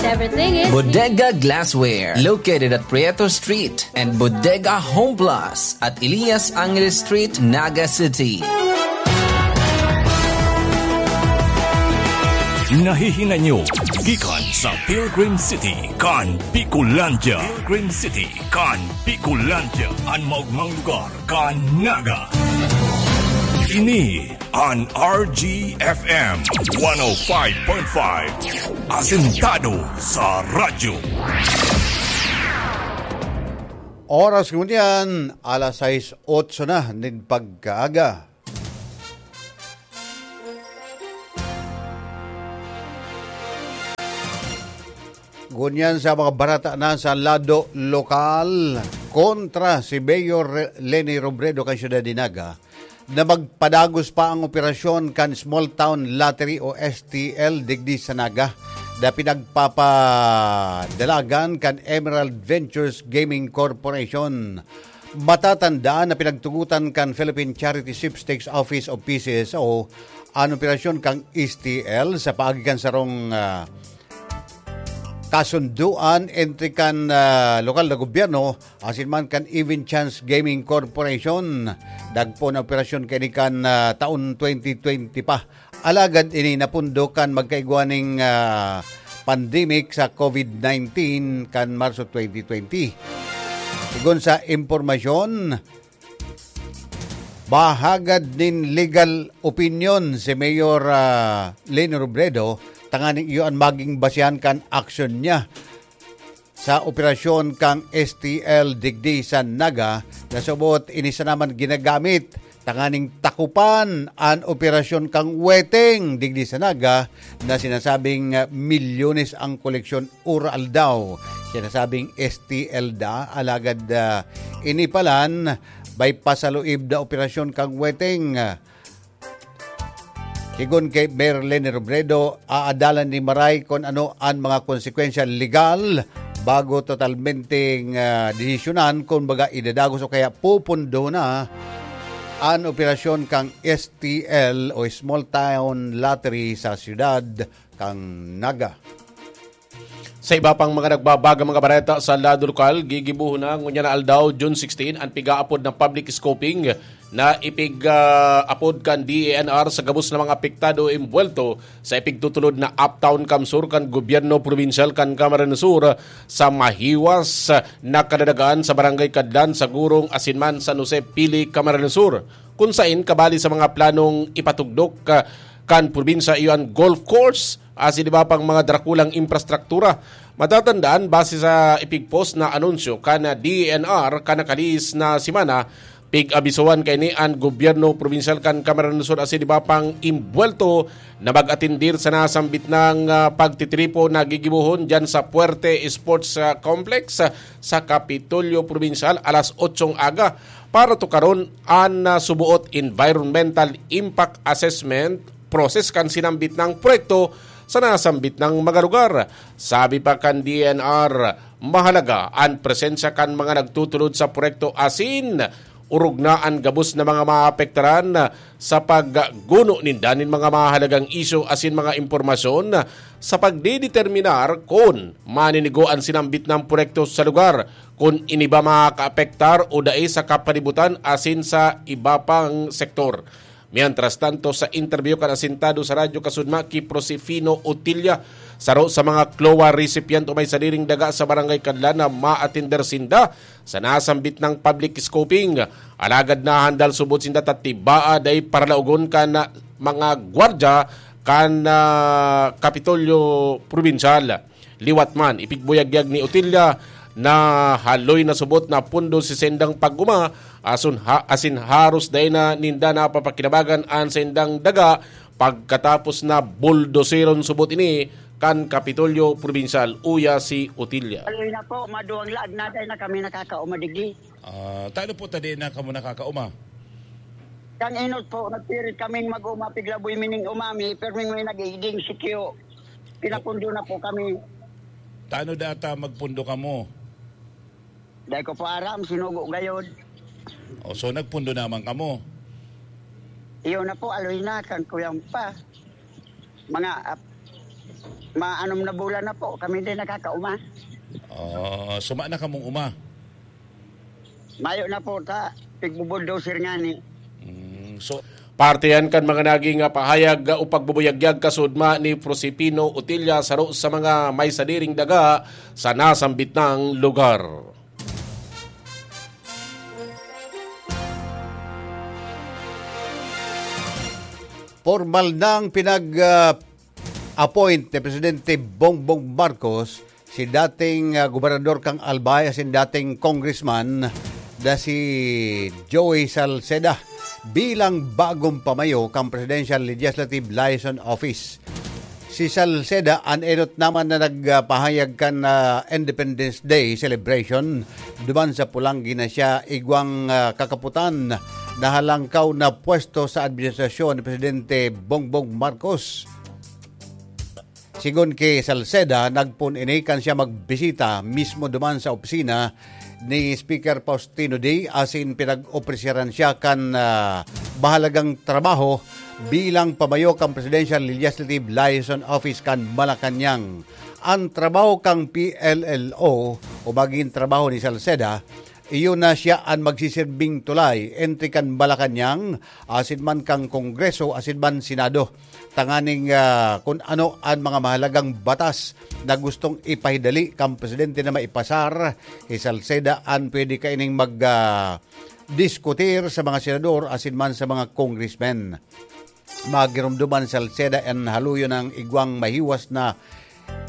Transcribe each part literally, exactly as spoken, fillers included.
Everything is Bodega Glassware, located at Prieto Street, and Bodega Home Plus at Elias Angeles Street, Naga City. Nahihinay nyo gikan sa Pilgrim City kan Bicolandia. Pilgrim City kan Bicolandia, an maogmang lugar kan Naga. Ini an R G F M one oh five point five, asentado sa radyo. Oras ngunyan, alas sais otso na nin pagkaaga. Ngunyan sa mga bareta na sa lado lokal, kontra si Mayor Re-, Leni Robredo kan Syudad de Naga, na magpadagos pa ang operasyon kan Small Town Lottery o S T L digdi sa Naga, na pinagpapadalagan kan Emerald Ventures Gaming Corporation. Matatandaan na pinagtugotan kan Philippine Charity Sweepstakes Office o P C S O an operasyon kan S T L sa paagi kan sarong, ah, kasundoan entre kan, ah, lokal na gobyerno asin man kan Even Chance Gaming Corporation. Dagpo na operasyon kaini kan, ah, taon twenty twenty pa. Alagad ini napundo kan magkaigwa ning, ah, pandemic sa covid nineteen kan Marso twenty twenty. Sigon sa impormasyon, bahagad nin legal opinion si Mayor, ah, Leni Robredo, tanganing iyo an maging basehan kan aksyon niya sa operasyon kan S T L digdi sa Naga, na subot ini sana man ginagamit tanganing takupan an operasyon kan Weteng digdi sa Naga, na sinasabing, ah, milyones ang koleksyon ora aldaw. Sinasabing S T L da, alagad, ah, ini palan, may pasaluib na operasyon kan Weteng. Sigon kay Mayor Leni Robredo, aadalan ni Maray kun ano an mga konsekwensya legal bago totalmenteng, ah, desisyonan kun baga idadagos o kaya pupundo na an operasyon kan S T L o Small Town Lottery sa siyudad kan Naga. Sa iba pang mga nagbabagang mga bareta sa lado lokal, gigibohon na ngunyan na aldaw, June sixteen, an pig-aapod na public scoping na ipig-, ah, apod kan D E N R sa gabos na mga apektado o imbuwelto sa ipigtutulod na Uptown CamSur kan gobyerno probinsyal kan Camarines Sur sa mahiwas na kadadagan sa Barangay Cadlan, Sagurong asin man San Jose, Pili, Camarines Sur, kun sain kabali sa mga planong ipatugdok, ah, kan probinsya iyo an golf course asin iba pang mga drakulang imprastruktura. Matatandaan, base sa ipigpost na anunsyo kan D E N R kan nakalihis na semana, pig-abisohan kaini an gobyerno probinsyal kan Camarines Sur asin iba pang imbuwelto na mag-atendir sa nasambit nang, ah, pagtitripo na gigibohon diyan sa Puerte Sports, ah, Complex, ah, sa Kapitolyo Probinsyal alas otsong aga para tukaron an, ah, suboot environmental impact assessment process kan sinambit nang proyekto sa nasambit nang mga lugar. Sabi pa kan D E N R, mahalaga an presensya kan mga nagtutulod sa proyekto asin orog na an gabos na mga maapektaran sa pagguno ninda nin mga mahalagang isyu asin mga impormasyon sa pagdedeterminar kun maninigo an sinambit nang proyekto sa lugar, kun ini ba makakaapektar o dai sa kapalibutan asin sa iba pang sektor. Mientras tanto, sa interview kan asentado sa Radyo Kasudma ki Prosefino Otilla, saro sa mga CLOA recipient o may sadiring daga sa Barangay Kadlan na maatender sinda sa nasambit nang public scoping. Alagad nahandal subot sinda ta tibaa dai paralaogon kan mga gwardya kan, ah, Kapitolyo Probinsyal. Liwat man, ipigbuyagyag ni Otilla na haloy na subot na pundo si saindang pag-oma, asin ha-, asin haros dai na ninda napapakinabangan an saindang daga pagkatapos na buldoseron subot ini kan Kapitolyo Probinsyal, uya si Otilla. Haloy na po, maduwang laag na dai na kami nakakaoma digdi. Ah, tano po ta dai na kamo nakakaoma? Kan inot po, nagpirit kaming mag-oma, piglaboy mining umami, pero may nag-igding sikyo. Pinapundo na po kami. Tano data magpundo kamo? Dai ko po aram, sinugo gayod. O, so nagpundo naman kamo? Iyo na po, aloy na, kan kuyang pa. Mga ap-, Maanom na bulan na po, kami din nakakauma. Oh, suma na kamong uma. Mayo na po ta, pigbubulldozer ngani. Mm, so, parte yan kan mga naging, ah, pahayag, ah, o pagbubuyagyag kasudma ni Prosipino Utilla, saro sa mga may sadiring daga sa nasambit nang lugar. Formal nang pinag, ah, appoint ni Presidente Bongbong Marcos si dating, ah, gobernador kan Albay asin dating congressman na si Joey Salceda bilang bagong pamayo kan Presidential Legislative Liaison Office. Si Salceda an enot naman na nagpahayag kan, ah, Independence Day celebration duman sa Polangui na siya igwang, ah, kakaputan na halangkaw na pwesto sa administrasyon ni Presidente Bongbong Marcos. Sigon ki Salceda, nagpoon ini kan siya magbisita mismo duman sa opisina ni Speaker Faustino Dy asin pinag-opreseran siya kan, ah, mahalagang trabaho bilang pamayo kan Presidential Legislative Liaison Office kan Malacañang. An trabaho kan P L L O o magin trabaho ni Salceda, iyo na siya an magsisirbing tulay entre kan Malacañang asin man kan Kongreso asin man Senado, tanganing, ah, kun ano an mga mahalagang batas na gustong ipahidali kan presidente na maipasar, hi Salceda an pwede kaining mag, ah, diskutir sa mga senador asin man sa mga congressmen. Magiromdoman ni Salceda an haluyon ng igwang mahiwas na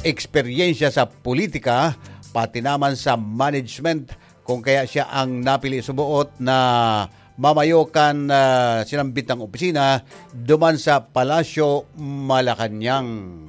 eksperyensya sa politika, pati naman sa management, kung kaya siya ang napili suboot na mamayo kan, ah, sinambit ng opisina duman sa Palasyo, Malacañang.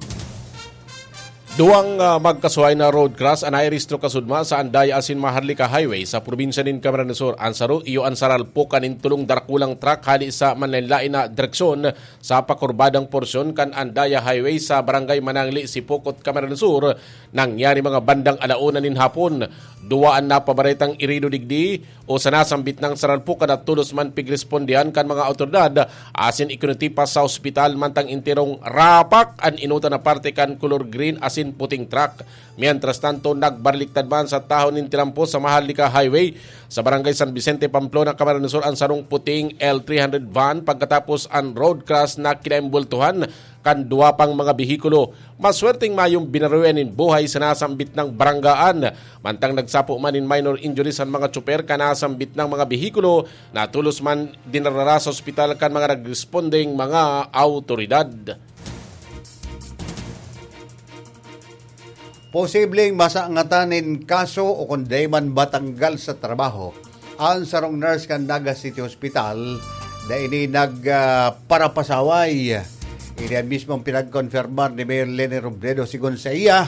Duwang, ah, magkasuhay na road crash an nairehistro kasudma sa Andaya asin Maharlika Highway sa probinsya nin Camarines Sur. An saro iyo an saralpok kan nin tulong darakulang truck hali sa manlaen-laen na direksyon sa pakurbadang porsyon kan Andaya Highway sa Barangay Manangli, Sipocot, Camarines Sur. Nangyari mga bandang ala una nin hapon. Duwa an napabaretang irido digdi o sa nasambit nang saralpukan na tolos man pigrespondihan kan mga awtoridad asin ikinutipas sa ospital, mantang enterong rapak an inutan na parte kan kolor green asin puting truck. Mientras tanto, nagbaliktad man sa tahaw nin tinampos sa Maharlika Highway sa Barangay San Vicente, Pamplona, Camarines Sur, an sarong puting L three hundred van pagkatapos an road crash na kinaimbultuhan kan duwa pang mga behikulo. Maswerteng mayong binaroyan nin buhay sa nasambit nang baranggaan, mantang nagsapo man nin minor injuries an mga tsoper kan nasambit nang mga behikulo na tolos man dinarara sa ospital kan mga nagrespondeng mga awtoridad. Posibleng masangatan nin kaso o kun dai man matanggal sa trabaho an sarong nurse kan Naga City Hospital na ini nag, ah, parapasaway. Ini an mismong pinagkonfirmar ni Mayor Leni Robredo. Sigon sa iya,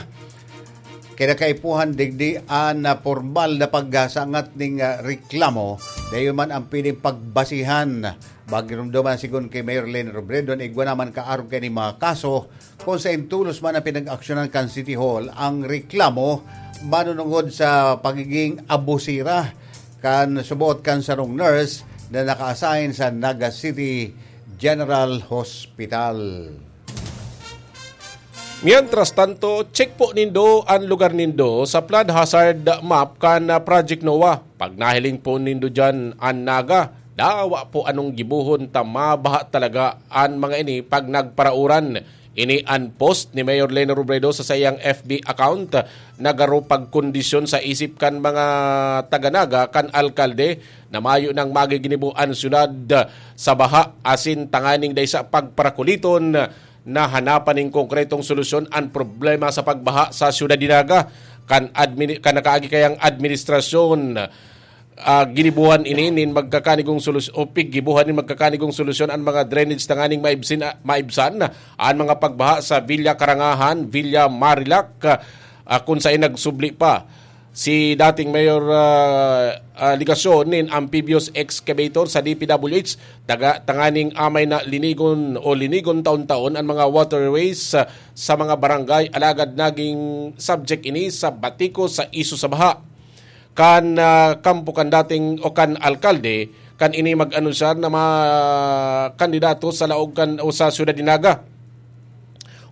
kinakaipuhan digdi an, ah, pormal na pagsangat ning, ah, reklamo. Dayon man ang piling pagbasihan. Magiromdoman sigon ki Mayor Leni Robredo na igwa naman kaarog kaining mga kaso kung saen tolos man ang pinag-aksyonan kan City Hall ang reklamo manunungod sa pagiging abusera kan suboot kan sarong nurse na naka-assign sa Naga City General Hospital. Mientras tanto, check po nindo an lugar nindo sa flood hazard map kan, ah, Project NOAA. Pag nahiling po nindo diyan an Naga, dawa po anong gibohon ta mabaha talaga an mga ini pag nagparauran. Ini an post ni Mayor Leni Robredo sa saiyang F B account. Nagaro pagkondisyon sa isip kan mga taga-Naga kan alkalde na mayo nang magiginibo an syudad sa baha asin tanganing dai sa pagparakuliton na hanapan nin konkretong solusyon an problema sa pagbaha sa syudad nin Naga. Kan admini-, kan nakaagi kayang administrasyon, ah, ginibuhan ini nin magkakanigong solusyon o piggibuhan nin magkakanigong solusyon an mga drainage tanganing maibsin, ah, maibsan an mga pagbaha sa Villa Karangahan, Villa Marilac, ah, kun saen nagsubli pa si dating Mayor, ah, ah, Legacion nin amphibious excavator sa D P W H, taga, tanganing amay na linigon o linigon taon-taon an mga waterways, ah, sa mga barangay, alagad naging subject ini sa batikos sa isyu sa baha. Kan, ah, kampo kan dating o kan alkalde, kan ini mag-anunsar na mga kandidato sa laog kan o sa syudad ni Naga.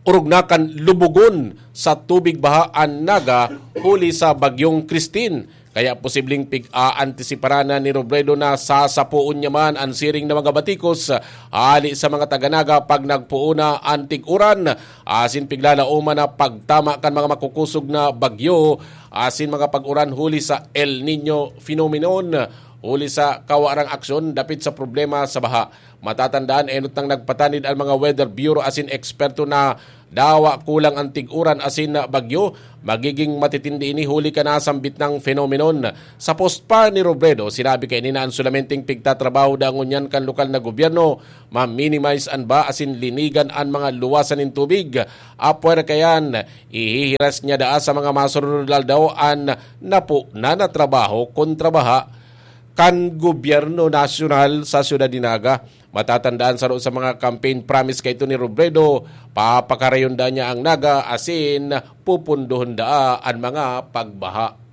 orog na kan lubugon sa tubig baha an Naga huli sa Bagyong Christine. Kaya posibleng pig-aantisiparan na ni Robredo na sasapoon niya man an siring na mga batikos hali sa mga taga-Naga pag nagpoon na an tig-uran asin piglalaoman na pagtama kan mga makukusog na bagyo asin mga pag-uran huli sa El Niño phenomenon, huli sa kawarang aksyon dapit sa problema sa baha. Matatandaan, enot nang nagpatanid ang mga Weather Bureau asin eksperto na dawa kulang ang tig-uran asin bagyo, magiging matitindi ini huli kan nasambit na phenomenon. Sa post pa ni Robredo, sinabi kaini na an solamenteng pigtatrabaho da ngunyan kan lokal na gobyerno, ma-minimize an baha asin linigan an mga luwasan nin tubig. Apwera kayan, ihihiras niya daa sa mga masunod na aldaw an napo na na trabaho kontra baha kan gobyerno nasyonal sa siyudad ni Naga. Matatandaan, saro sa mga campaign promise kaito ni Robredo, papakarayon daa niya ang Naga asin pupundohon daa an mga pagbaha.